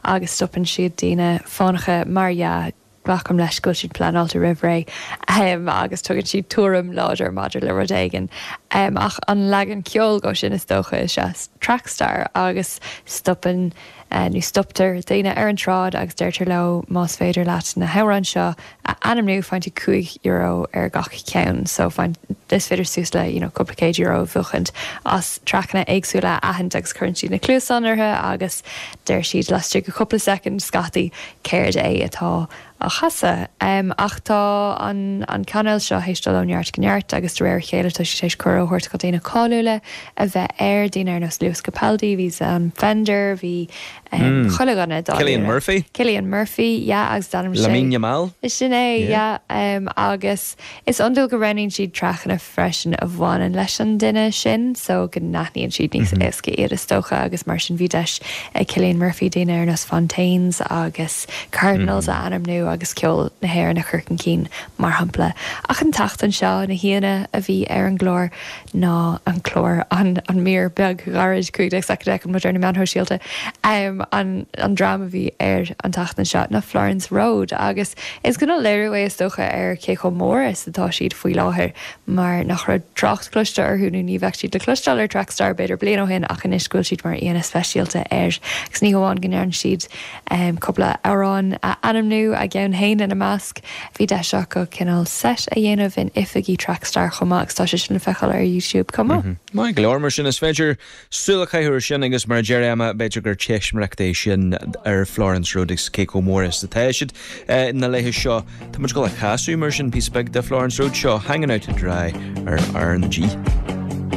agus stopann siad daoine fánacha mar dhea, glacaim leis go bhfuil siad pleanáilte roimh ré agus tugann siad tuairim láidir maidir le rud éigin. Ach an leagan ceoil dhó sin is dócha is ea Trackstar agus stopann nó stoptar daoine ar an tsráid agus deirtear leo más féidir leat na hamhráin seo a ainmniú faigheann tú €5 ar gach ceann so faigheann is féidir suas le you know cúpla céad euro a bhuachaint as traiceanna éagsúla a aithint agus cuireann siad na cluasáin orthu agus deir siad laistigh de chúpla soicind scaití céard é atá á chasadh. Ach tá an an cainéal seo théis dul ó neart go neart agus de réir a chéile tá siad théis cuireadh a thabhairt do dhaoine cáiliúla a bheith air, daoine ar nós Lewis Capaldi, bhí Sam Fender, bhí chuile dhuine dáiríre. Cillian Murphy? Cillian Murphy, yeah, agus d'ainmnigh sé. Lamine Yamal? Sin é, yeah. Agus is iondúil go roghnaíonn siad traiceanna freisin a bhaineann leis an duine sin so go n-aithníonn siad níos éasca iad is dócha agus mar sin bhí deis ag Cillian Murphy daoine ar nós Fontaines agus Cardinals a ainmniú agus ceol na hÉireann a chur chun cinn mar shampla. Ach an tseachtain seo na haíonna a bhí ar an gclár ná an clár, an an mír beag ghairid 15 soicind a fheiceann muid ar na meáin shóisialta, an an dream a bhí air an tseachtain seo ná Florence Road agus is cineál léiriú é is dócha ar cé chomh mór is atá siad faoi láthair mar nach raibh trácht cloiste orthu nó ní bheadh siad le cloisteáil ar Trackstar b'fhéidir bliain ó shin ach anois go bhfuil siad mar aíonna speisialta air agus ní hamháin go ndearna siad cúpla amhrán a ainmniú, a gceann féin ina measc. Bhí deis acu cineál set a dhéanamh in oifigí Trackstar chomh maith agus tá sé sin le feiceáil ar YouTube chomh maith. Maith go leor, mar sin is féidir súil a chaitheamh air sin agus mar a deir Emma, b'fhéidir gur teistaiméireacht é sin ar Florence Road agus cé chomh mór is atá siad na laethe seo. Tá muid ag dul a chasadh mar sin píosa beag de Florence Road seo, Hanging Out to Dry ar R na G.